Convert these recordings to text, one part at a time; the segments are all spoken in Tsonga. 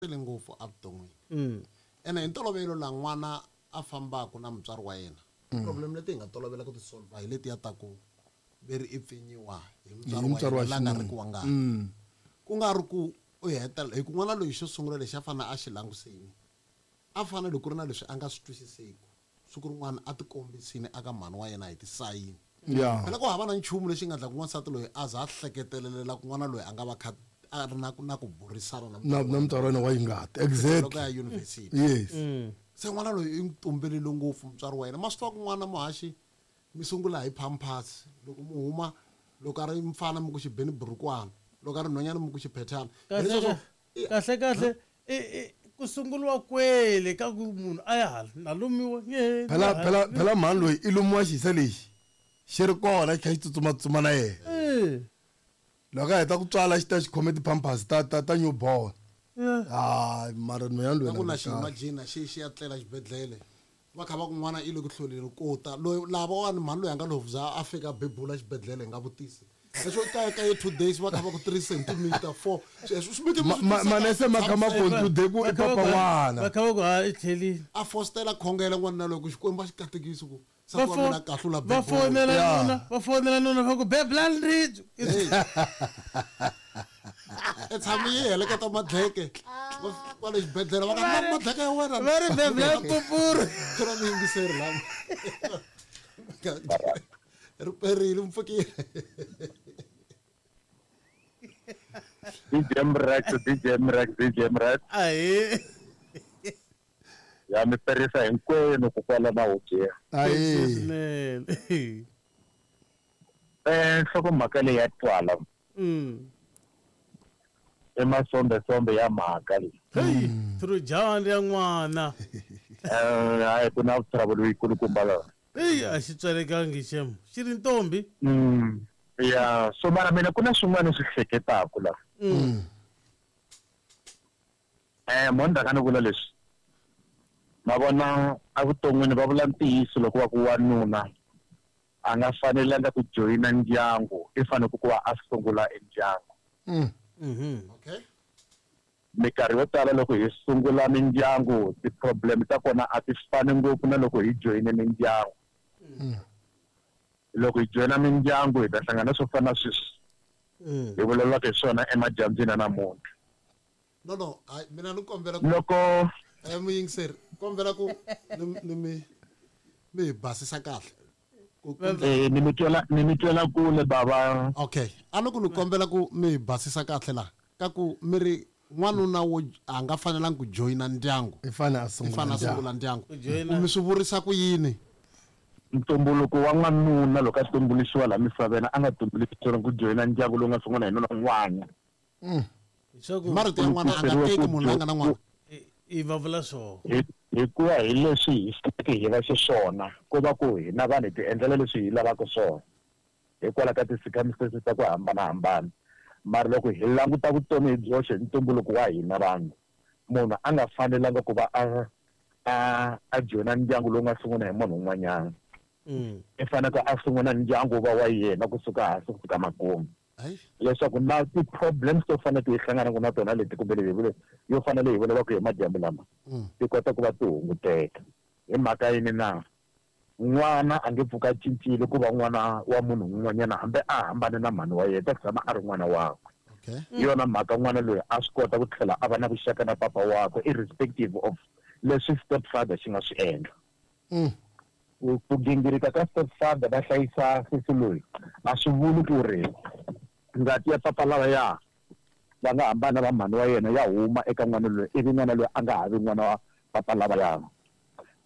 Tele ngopfu evuton'wini. Ene hi ntolovelo laha n'wana a fambaka na mutswari wa yena, problem leti hi nga tolovela ku ti solver hi letiya ta ku ve ri i pfinyiwa hi Hi mutswari mutswari wa wa yena la nga xinuna. riki wa ngati. Ku nga ri ku u hetelela hi ku n'wana loyi xo sungula lexi a fanele a xi langusini, a fanele ku ri na leswi a nga swi twisiseki, siku rin'wana a tikombisini aka mhani wa yena hi tisayini. Phela ku hava na nchumu lexi nga endlaka n'wansati loyi a za a hleketelelela ku n'wana loyi a nga va kha a ri na na ku burisana na Na mutswari na wa mutswari wa yena yena wa ngati. loko Exactly. a ya yunivhesiti. Yes. Se n'wana loyi i n'wi tumbelile ngopfu mutswari wa yena. Ma swi tiva ku n'wana muhaxi mi sungula hi pampers loko mu huma loko a ri mfana mi ku xi beni burukwana loko a ri nhwanyana mi ku xiphethana. Kahle Hileswaku kahle kahle kahle i i ku sunguriwa kwele ka ku munhu a ya hala na lumiwa nge Phela phela phela mhani loyi i lumiwa xisa lexi xi ri kona xi kha xi tsutsuma-tsutsuma na yena. Loko a heta ku tswala xi ta xi khome ti-pampers ta ta ta newborn. Hayi mara nhwanyana loyi Na ku na na xi kahle. imagine xi xi ya tlela xibedhlele va kha va ku n'wana i le ku hlweleni ko ta loyi lavawani mhani loyi a nga lovza a fika a bebula xibedhlele hi nga vutisi leswo ka ka ye 2 days va kha va ku 3 centimeter 4 sweswo swi mi Ma- ma- manese ma kha ma conclude ku i papa n'wana. Va kha va ku ha i tlhelile. A fostela khongela n'wana loyi ku Xikwembu a xi katekisi ku Va nsati wa fo mina kahlula va bebula. fonela nuna va fonela nuna va ku bebulani ribye. I tshame yi heleketa madleke kwale xibedhlele va ka Va na ri- madleke ya wena va ri bebulani pupuru. Ku na muyingiseri lama ri perile mpfukile. DJ Mrex, DJ Mrex, DJ Mrex. Ahee. Ya mi perisa hinkwenu ku kwala na hubyeni. Ahee. Swinene. Nhlokomhaka leyi ya twala. I masombesombe ya mhaka leyi. Hey, Trojani ya n'wana. Hayi ku na trouble yikulukumba la. Eyi a xi tswalekangi xem. Xi ri ntombi. Ya, so mara mina ku na swin'wana swi hleketaka la. Mo ndzhaku ni vula leswi. Ma vona evuton'wini va vula ntiyiso loko va ku wanuna a nga fanelanga ku joyina ndyangu, i fanele ku va a sungula e ndyangu. Okay. Minkarhi yo tala loko hi sungula mindyangu ti-problem ta kona a ti fani ngopfu na loko hi joyine mindyangu. Loko hi joyina mindyangu hi ta hlangana swo fana na sweswi hi vulavulaka hi swona emadyambyini ya namuntlha. No no, hayi mina ni kombela ku Loko muyingiseri kombela ku ni ni mi mi hi basisa kahle. Ku Ni mi twela ni mi twela kule bava. Okay, a loko ni kombela ku mi hi basisa kahle la ka ku mi ri n'wanuna wo a nga fanelangi ku joyina ndyangu. I fanele a I sungula fanele a ndyangu. sungula ndyangu. Ku joyina. Ku mi swi vurisa ku yini? Ntumbuluko wa n'wanuna loko a tumbuluxiwa laha misaveni a nga tumbuluxeriwa ku joyina ndyangu lowu nga sungula hi nuna n'wana. Leswaku Hi marito ya n'wana a nga teki munhu la nga na n'wana. I va vula swona. Hi hikuva hi leswi hi faneleke hi va xiswona ku va ku hina vanhu hi ti endlela leswi hi lavaka swona hikwalaho ka ti-circumstances ta ku hambanahambana. Mara loko hi languta vutomi hi byoxe hi ntumbuluko wa hina vanhu, munhu a nga fanelanga ku va a a a joyina ndyangu lowu nga sungula hi munhu un'wanyana. I fanele a sungula ndyangu va wa yena kusuka hansi ku fika makumu. Leswaku na ti-problems to fana ti hi hlanganaka na tona leti kumbe leyi hi yo fana leyi hi vulavulaka hi madyambu lama ti kota ku va ti hunguteka. Hi mhaka yini na? N'wana a nge pfuki a cincile ku va n'wana wa munhu un'wanyana hambi a hambane na mhani wa yena, ta tshama a ri n'wana wakwe. Hi yona mhaka n'wana loyi a swi kota ku tlhela a va na vuxaka na papa wakwe irrespective of leswi stepfather xi nga swi endla. Ku gingirika ka stepfather va hlayisa sesi loyi a swi vuli ku ri ngati ya papa lavaya va nga hambana va mhani wa yena ya huma eka n'wana loyi ivi n'wana loyi a nga ha vi n'wana wa papa lavaya.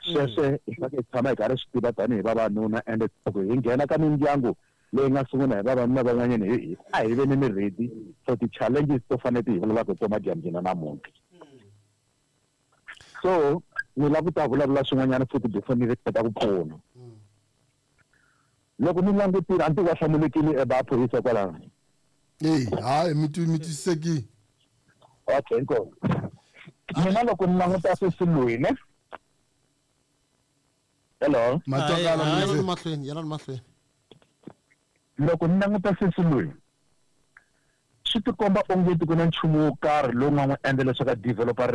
Sweswo hi fanele hi tshama hi karhi swi tiva tanihi vavanuna, ende loko hi nghena ka mindyangu leyi nga sungula hi vavanuna van'wanyana hi a hi veni ni ready for ti-challenges to fanele ti hi vulavulaka hi tona madyambyini namuntlha. So ni lava ku ta vulavula swin'wanyana futhi before ni ringeta ku pfuna. Loko ni langutile a ni tivi va hlamulekile e vaphorisa kwalano. Eyi, hayi mi mi twisisekile. Okay, inkomu. Mina loko ni languta sesi loyi ne. Hello. Matwakala Yelani muyingiseri. mahlweni, yelani mahlweni. Loko ni languta sesi loyi Swi tikomba ongeti ku na nchumu wo karhi lowu nga n'wi endla leswaku a developa.